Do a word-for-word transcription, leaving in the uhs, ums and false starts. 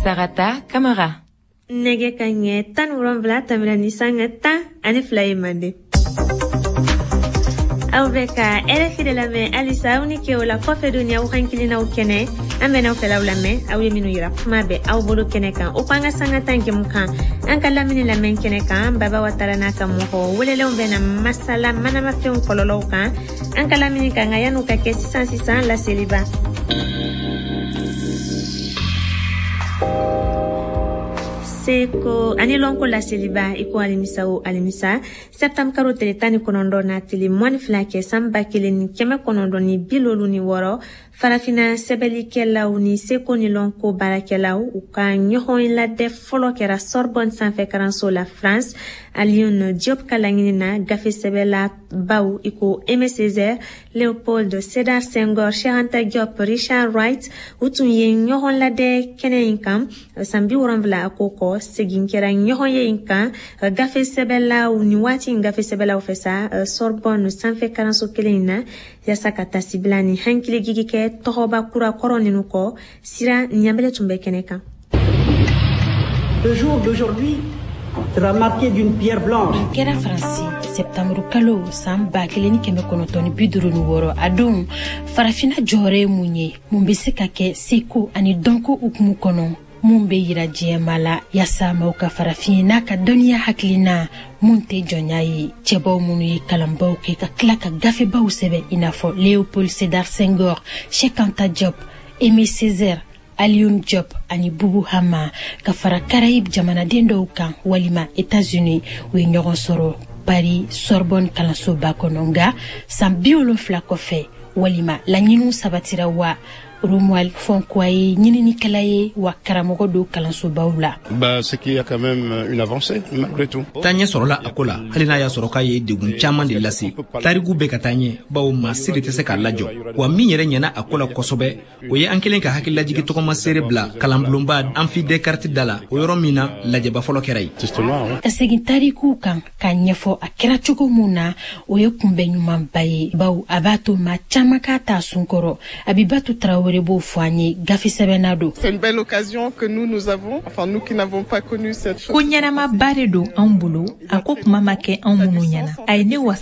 Sarata Kamara. Nɛgɛ ka ɲɛ tan ni wolonwula tɛmɛna ni sanga tan ani fila ye mande. Aw bɛ ka R F I de lamɛn halisa. Aw ni ke o la kɔfɛ don ni aw hankilinaw kɛnɛ, an bɛn'aw fɛlaw lamɛn, aw ye minnu yira kuma bɛ aw bolo kɛnɛ kan. O ko an ka sanga tan jɛmu kan, an ka lamini lamɛn kɛnɛ kan, Baba Watara n'a ka mɔgɔ welelenw bɛna masala manamafɛnw kɔlɔlɔw kan an ka lamini kan. Nka yan'u ka kɛ, sisan sisan laseliba. Seko ani lɔnko laseliba. I ko alimisa o alimisa, septembre karo tile tan ni kɔnɔntɔn na tile mɔni fila kɛ san ba kelen ni kɛmɛ kɔnɔntɔn ni bi lolu ni wɔɔrɔ, Farafina sɛbɛlikɛlaw ni seko ni lɔnko baarakɛlaw u ka ɲɔgɔn ladɛ fɔlɔ kɛra Sorbonne sanfɛ karanso la, France. Alioune Diop ka laɲini na, gafe sɛbɛla baw i ko Aimé Césaire, Léopold Sédar Senghor, Cheikh Anta Diop, Richard Wright, u tun ye ɲɔgɔn ladɛ kɛnɛ in kan. San bi wolonwula ko kɔ, segin kɛra ɲɔgɔn ye in kan gafe sɛbɛlaw ni waati in gafe sɛbɛlaw fɛ sa Sorbonne sanfɛ karanso kelen in na, yaasa ka tasibila ni hakilijigi kɛ tɔgɔba kura kɔrɔ ninnu kɔ. Sira ɲanbele tun bɛ kɛnɛ kan. Le jour d'aujourd'hui sera marqué d'une pierre blanche. Kɛra Faransi sɛptanburu kalo san ba kelen ni kɛmɛ kɔnɔntɔn ni bi duuru ni wɔɔrɔ. A don, Farafina jɔyɔrɔ ye mun ye? Mun bɛ se ka kɛ seko ani dɔnko hukumu kɔnɔ mun bɛ yira diɲɛma la, yaasa maaw ka farafin n'a ka dɔnniya hakilina mun tɛ jɔnya ye? Cɛbaw minnu ye kalanbaw kɛ ka tila ka gafebaw sɛbɛn, i n'a fɔ Léopold Sédar Senghor, Cheikh Anta Diop, Aimé Césaire, Alioune Diop ani Boubou Hama, ka fara Caraïbe jamanaden dɔw kan walima États-Unis, u ye ɲɔgɔn sɔrɔ Paris Sorbonne kalansoba kɔnɔ. Nka san bi wolonfila kɔfɛ, walima laɲiniw sabatira wa? Romuald Fonkoua ye ɲininikɛla ye wa karamɔgɔ don kalansobaw la. Bah, c'est qu'il y a quand même une avancée, malgré tout. Taaɲɛ sɔrɔla a ko la, hali n'a y'a sɔrɔ k'a ye degun caman de lase. Tariku bɛ ka taa ɲɛ, bawo maa si de tɛ se k'a lajɔ. Wa min yɛrɛ ɲɛna a ko la kosɛbɛ, o ye an kelen ka hakililajigi tɔgɔma seere bila kalanbulonba Amphi Descartes da la, o yɔrɔ min na lajɛba fɔlɔ kɛra yen. Ka segin tarikuw kan k'a ɲɛfɔ a kɛra cogo mun na, o ye kunbɛn ɲumanba ye, bawo a b'a to maa caman k'a ta sun kɔrɔ. Abibatu Tarawele b'o fɔ an ye, gafe sɛbɛnna don. C'est une belle occasion que nous, nous avons, enfin nous qui n'avons pas connu cette chose. Ko ɲɛnamaba de don anw bolo. A ko kuma ma kɛ anw minnu ɲɛna, a ye ne wasa.